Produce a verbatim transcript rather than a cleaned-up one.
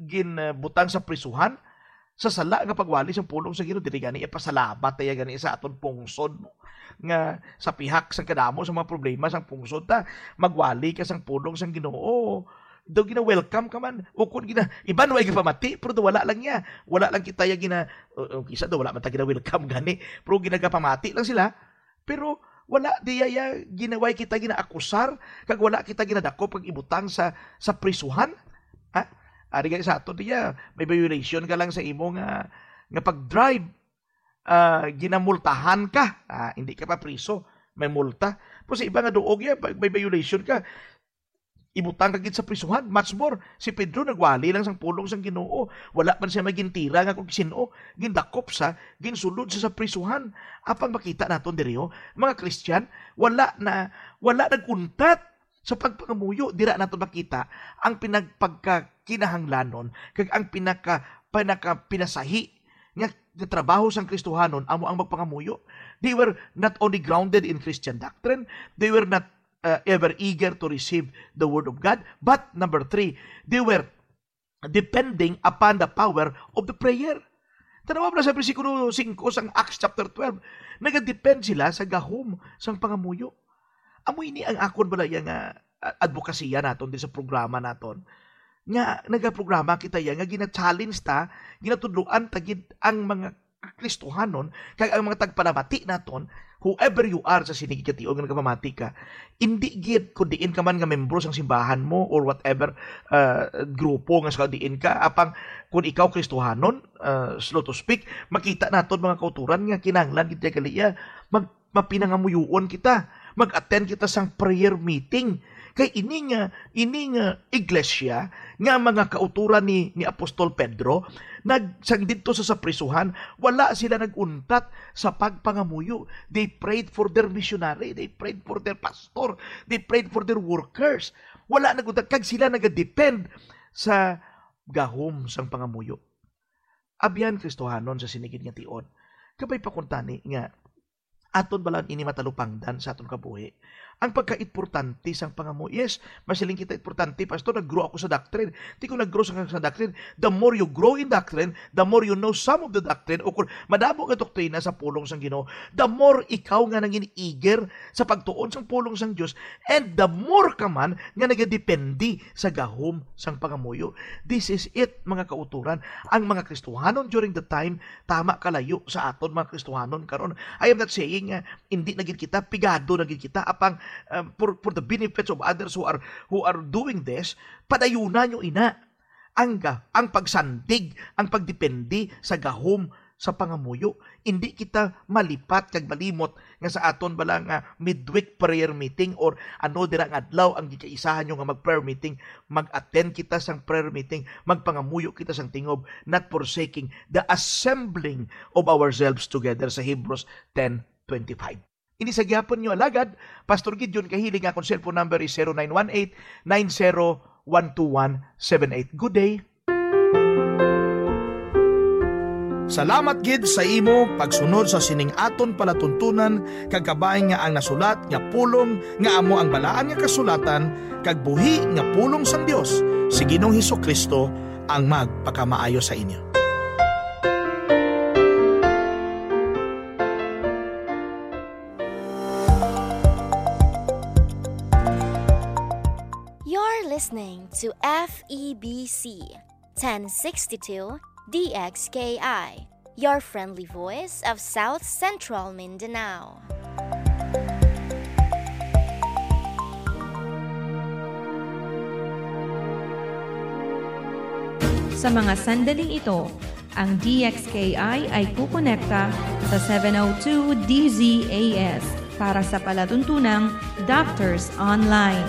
gin, ah, butang sa prisuhan sa sala nga pagwali sang pulong sa Ginoo. Dili gani ipasalamat ta iya gani sa aton pungsod, no? Nga sa pihak sang kadamo sa mga problema sang pungsod ta, magwali ka sang pulong sang Ginoo. Daw gina-welcome ka man. O kung gina-, iban way gipamati, pero daw wala lang niya. Wala lang kita ya gina-, o, o, kisa daw wala man ta gina-welcome gani. Pero ginagapamati lang sila. Pero wala diya ya ginaway kita ginaakusar, kag wala kita ginadakop kag ibutang sa, sa prisuhan. Ha? Ari gani sa ato diya, may violation ka lang sa imo nga, nga pag-drive, ah, ginamultahan ka. Ah, hindi ka pa priso, may multa. Pero sa iba nga duog ya, pag may violation ka, ibutang ka gid sa prisuhan. Much more, si Pedro nagwali lang sang pulong sang Ginoo. Wala man siya magintira nga kung sino. Gindakop sa, ginsulod sa, sa prisuhan. Apang makita naton diri, oh, mga Kristiyan, wala na, wala nag-untat sa pagpangamuyo. Dira naton makita ang pinagpagkakinahanglanon kag ang pinaka, pinaka pinasahi nga, nga trabaho sang Kristohanon amo ang magpangamuyo. They were not only grounded in Christian doctrine, they were not uh, ever eager to receive the word of God. But number three, they were depending upon the power of the prayer. Tanawa na sa bersikulo singko sang Acts chapter twelve. Nagadepend sila sa gahom sang pangamuyo. Amo ini ang akon balaya nga, ah, advokasya naton din sa programa naton. Nga nagaprograma kita ya, nga gina-challenge ta, ginatudloan ta gid ang mga Kristohanon, kag ang mga tagpanamati naton, whoever you are sa sini gid nga tion nga nagapamati ka, indi gid kung diin ka man nga membro sang simbahan mo or whatever, ah, grupo nga sa diin ka, apang kung ikaw Kristohanon, ah, so to speak, makita naton mga kauturan nga kinahanglan gid kaliya mag-, mapinangamuyoon kita, mag-attend kita sang prayer meeting. Kay ini nga, ini nga iglesia nga mga kauturan ni, ni Apostol Pedro, nag-, sang didto sa, sa prisuhan, wala sila nag-untat sa pagpangamuyo. They prayed for their missionary, they prayed for their pastor, they prayed for their workers. Wala nag-untat, kag sila nagadepend sa gahom sang pangamuyo. Abyan, Kristohanon sa sini gid nga tion, kabay pa kuntani nga aton bala ini matalupangdan sa aton kabuhi. Ang pagkaimportante sang pangamuyo. Yes, masiling kita, "Importante, Pastor, nag-grow ako sa doctrine." Di ko nag-grow sa, sa doctrine. The more you grow in doctrine, the more you know some of the doctrine, o kung madamo nga doktrina sa pulong sang Ginoo, the more ikaw nga nangin-iger sa pagtuon sang pulong sang Dios, and the more ka man nga nagadepende sa gahom sang pangamuyo. This is it, mga kauturan. Ang mga Kristohanon during the time, tama kalayo sa aton mga Kristohanon karon. I am not saying nga hindi na gid kita, pigado na gid kita, apang, um, for, for the benefits of others who are, who are doing this, padayuna nyo ina ang ga-, ang pagsandig, ang pagdepende sa gahom sa pangamuyo. Hindi kita malipat kag malimot nga sa aton bala nga midweek prayer meeting or ano dira nga adlaw ang gikaisahan nyo nga mag-prayer meeting, mag-attend kita sang prayer meeting, magpangamuyo kita sang tingob, not forsaking the assembling of ourselves together sa Hebrews ten twenty-five. Ini sa gihapon nyo alagad, Pastor Gideon Kahiling. Akong cellphone number is zero nine one eight, nine zero one two one seven eight. Good day. Salamat gid sa imo pagsunod sa sining aton palatuntunan, kag kabay nga ang nasulat nga pulong nga amo ang Balaan nga Kasulatan kag buhi nga pulong sang Dios, si Ginoong Jesu-Cristo ang magpakamaayo sa inyo. You're listening to F E B C ten sixty-two D X K I, your friendly voice of South Central Mindanao. Sa mga sandaling ito, ang D X K I ay kukonekta sa seven oh two D Z A S para sa palatuntunang Doctors Online.